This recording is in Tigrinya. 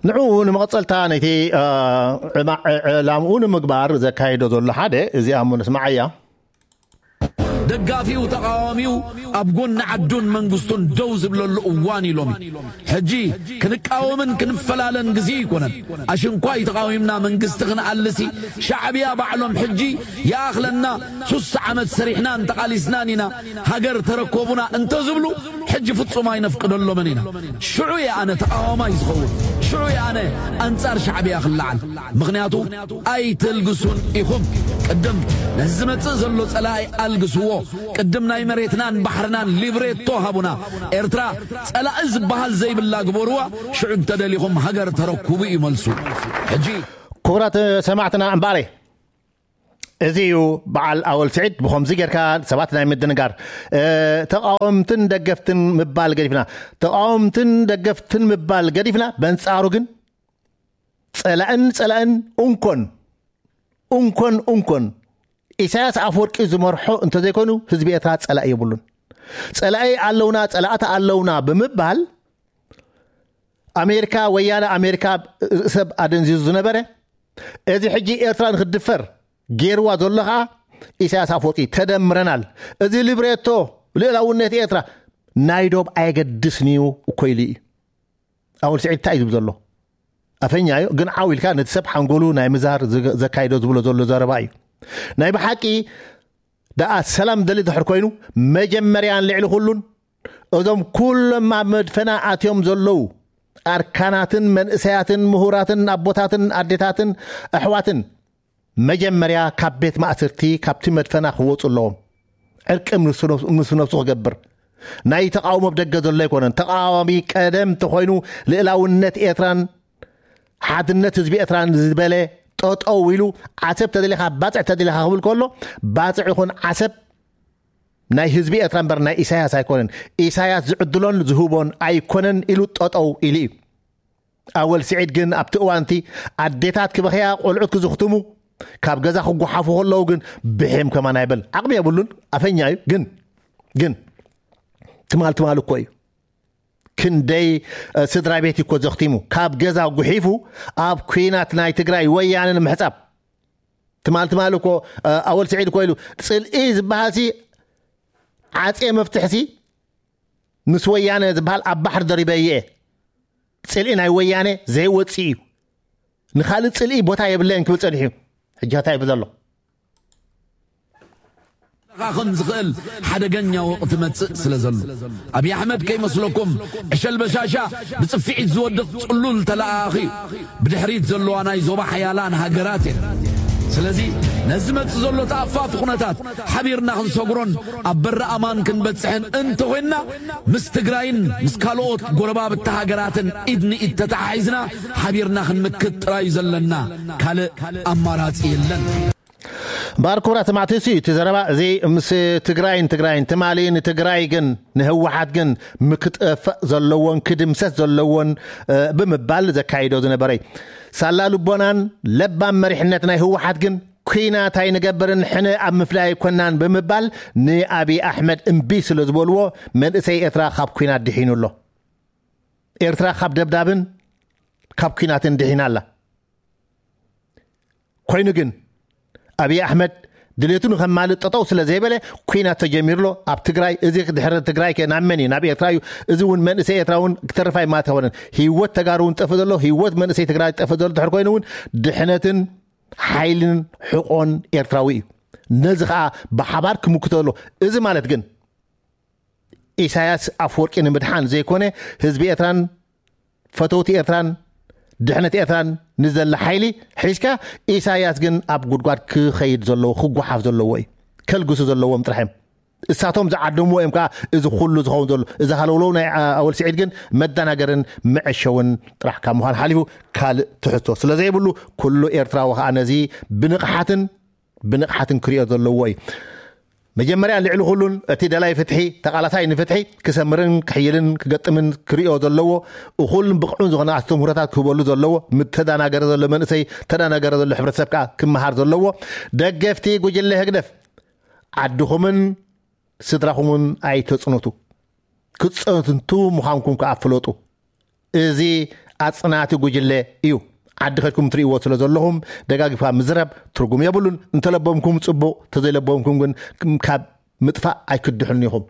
ንዕኡ ንመቐጸልታ ነቲ ዕላምኡ ንምግባር ዘካይዶ ዘሎ ሓደ እዚኣ እሞ ንስማዓያ። ደጋፊው ተቃዋሚው ኣብ ጎኒ ዓዱን መንግስቱን ደው ዝብለሉ እዋን ኢሎም። ሕጂ ክንቃወምን ክንፈላለን ግዜ ይኮነን። ኣሽንኳይ ተቃዊምና መንግስቲ ክንኣልሲ ሻዕብያ ባዕሎም ሕጂ ይኣኽለና፣ ሱሳ ዓመት ሰሪሕናን ተቓሊስናን ኢና፣ ሃገር ተረከቡና እንተዝብሉ ሕጂ ፍጹም ኣይነፍቅደሎምን ኢና። ሽዑ እየ ኣነ ተቓዋማይ ዝኸውን። ሽዑ እየ ኣነ ኣንጻር ሻዕብያ ክለዓል። ምኽንያቱ ኣይተልግሱን ኢኹም። ቅድም ነዚ ዝመጽእ ዘሎ ጸላኢ ኣልግስዎ። ቅድም ናይ መሬትናን ባሕርናን ሊብሬቶ ሃቡና። ኤርትራ ጸላኢ ዝበሃል ዘይብላ ግበርዋ። ሽዑ እንተደሊኹም ሃገር ተረክቡ እዩ መልሱ። ሕጂ ክቡራት ሰማዕትና እምበኣረይ እዚ እዩ በዓል ኣወል ስዒድ ብኸምዚ ጌርካ ሰባት ናይ ምድንጋር ተቃወምትን ደገፍትን ምባል ገዲፍና ተቃወምትን ደገፍትን ምባል ገዲፍና በንጻሩ ግን ጸላእን ጸላእን እንኮን እንኮን እንኮን ኢሳያስ ኣፈወርቂ ዝመርሖ እንተዘይኮይኑ ህዝቢ ኤርትራ ጸላኢ የብሉን። ጸላኢ ኣለውና ጸላእቲ ኣለውና ብምባል ኣሜሪካ ወያነ ኣሜሪካ ሰብ ኣደንዚዙ ዝነበረ እዚ ሕጂ ኤርትራ ንክትድፈር ገይርዋ ዘሎ ከዓ ኢሳያስ ኣፈወርቂ ተደምረናል። እዚ ሊብሬቶ ልእላውነት ኤርትራ ናይ ዶብ ኣየገድስን እዩ እኮ ኢሉ እዩ። ኣወል ስዒድ እንታይ እዩ ዝብል ዘሎ? ኣፈኛ እዩ ግን ዓው ኢልካ ነቲ ሰብ ሓንጎሉ ናይ ምዛር ዘካይዶ ዝብሎ ዘሎ ዘረባ እዩ። ናይ ብሓቂ ደኣ ሰላም ደሊ ድሕር ኮይኑ መጀመርያን ልዕሊ ኩሉን እዞም ኩሎም ኣብ መድፈና ኣትዮም ዘለዉ ኣርካናትን መንእሰያትን ምሁራትን ኣቦታትን ኣዴታትን ኣሕዋትን መጀመርያ ካብ ቤት ማእስርቲ ካብቲ መድፈና ክወፁ ኣለዎም። ዕርቂ ምስ ነብሱ ክገብር ናይ ተቃውሞ ብደገ ዘሎ ኣይኮነን። ተቃዋሚ ቀደም ተኮይኑ ልእላውነት ኤርትራን ሓድነት ህዝቢ ኤርትራን ዝበለ ጠጠው ኢሉ ዓሰብ ተደሊኻ ባፅዕ ተደሊኻ ክብል ከሎ ባፅዕ ይኹን ዓሰብ ናይ ህዝቢ ኤርትራ እምበር ናይ ኢሳያስ ኣይኮነን። ኢሳያስ ዝዕድሎን ዝህቦን ኣይኮነን ኢሉ ጠጠው ኢሉ እዩ። ኣወል ስዒድ ግን ኣብቲ እዋንቲ ኣዴታት ክበኽያ ቆልዑት ክዝኽትሙ ካብ ገዛ ክጓሓፉ ከለዉ ግን ብሒም ከማን ኣይበል። ዓቕሚ የብሉን፣ ኣፈኛ እዩ። ግን ግን ትማል ትማል እኮ እዩ ክንደይ ስድራ ቤት እኮ ዘኽቲሙ ካብ ገዛ ጉሒፉ ኣብ ኩናት ናይ ትግራይ ወያነ ንምሕጻብ ትማል ትማል እኮ ኣወል ስዒድ እኮ ኢሉ ጽልኢ ዝበሃልሲ ዓጼ መፍትሕሲ ምስ ወያነ ዝበሃል ኣብ ባሕሪ ደሪበ እየ። ጽልኢ ናይ ወያነ ዘይወጽእ እዩ። ንኻልእ ጽልኢ ቦታ የብለየን ክብል ጸኒሑ እዩ። ሕጂ እንታይ ይብል ዘሎ? ለኻኽን ዝኽእል ሓደገኛ ወቕቲ መጽእ ስለ ዘሎ ኣብዪ ኣሕመድ ከይመስለኩም ዕሸል በሻሻ ብጽፍዒት ዝወድቕ ጽሉል ተለኣኣኺ እዩ። ብድሕሪት ዘለዋ ናይ ዞባ ሓያላን ሃገራት እየን። ስለዚ ነዚ መጽእ ዘሎ ተኣፋፊ ኩነታት ሓቢርና ክንሰግሮን ኣብ በሪ ኣማን ክንበጽሕን እንተኾይንና ምስ ትግራይን ምስ ካልኦት ጎረባብቲ ሃገራትን ኢድ ንኢድ ተተሓሒዝና ሓቢርና ክንምክት ጥራይ እዩ ዘለና። ካልእ ኣማራጺ የለን። እምበኣር ክቡራት ሰማዕቲ እሱ እዩ እቲ ዘረባ እዚ ምስ ትግራይን ትግራይን ትማሊ ንትግራይ ግን ንህወሓት ግን ምክጠፈእ ዘለዎን ክድምሰስ ዘለዎን ብምባል ዘካይዶ ዝነበረ ሳላ ልቦናን ለባም መሪሕነት ናይ ህወሓት ግን ኩናት ኣይንገብርን ሕነ ኣብ ምፍላይ ኣይኮናን ብምባል ንኣብዪ ኣሕመድ እምቢ ስለ ዝበልዎ መንእሰይ ኤርትራ ካብ ኩናት ድሒኑ ኣሎ። ኤርትራ ካብ ደብዳብን ካብ ኩናትን ድሒና ኣላ። ኮይኑ ግን ኣብዪ ኣሕመድ ድሌቱ ንኸማልእ ጠጠው ስለ ዘይበለ ኩናት ተጀሚሩ ኣሎ ኣብ ትግራይ። እዚ ድሕሪ ትግራይ ከ ናብ መን እዩ? ናብ ኤርትራ እዩ። እዚ እውን መንእሰይ ኤርትራ እውን ክተርፍ ኣይማት ኣይኮነን። ህይወት ተጋሩ እውን ጠፍእ ዘሎ ህይወት መንእሰይ ትግራይ ጠፍእ ዘሎ ድሕር ኮይኑ እውን ድሕነትን ሓይልን ሕቆን ኤርትራዊ እዩ። ነዚ ከዓ ብሓባር ክምክቶ ኣሎ። እዚ ማለት ግን ኢሳያስ ኣፍወርቂ ንምድሓን ዘይኮነ ህዝቢ ኤርትራን ፈተውቲ ኤርትራን ድሕነት ኤርትራን ንዘለ ሓይሊ ሒዝካ ኢሳያስ ግን ኣብ ጉድጓድ ክኸይድ ዘለዎ ክጓሓፍ ዘለዎ እዩ። ከልግሱ ዘለዎም ጥራሕ እዮም። እሳቶም ዝዓደምዎ እዮም ከዓ እዚ ኩሉ ዝኸውን ዘሎ። እዚ ሃለውለው ናይ ኣወል ስዒድ ግን መደናገርን መዐሸውን ጥራሕ ካብ ምዃን ሓሊፉ ካልእ ትሕዝቶ ስለ ዘይብሉ ኩሉ ኤርትራዊ ከዓ ነዚ ብንቕሓትን ብንቕሓትን ክሪኦ ዘለዎ እዩ። መጀመርያ ልዕሊ ኩሉን እቲ ደላይ ፍትሒ ተቓላሳይ ንፍትሒ ክሰምርን ክሕይልን ክገጥምን ክሪኦ ዘለዎ እኹልን ብቕዑን ዝኾነ ኣስተምህሮታት ክህበሉ ዘለዎ ምተዳናገረ ዘሎ መንእሰይ ተዳናገረ ዘሎ ሕብረተሰብ ከዓ ክመሃር ዘለዎ ደገፍቲ ጉጅለ ህግደፍ ዓድኹምን ስድራኹምን ኣይተፅንቱ ክትፀንቱ ምዃንኩም ከዓ ፍለጡ። እዚ ኣጽናቲ ጉጅለ እዩ። ዓዲ ከድኩም ትርእይዎ ስለ ዘለኹም ደጋጊፋ ምዝረብ ትርጉም የብሉን። እንተለቦምኩም ጽቡቕ፣ ተዘይለቦምኩም ግን ካብ ምጥፋእ ኣይክድሕኑ ኢኹም።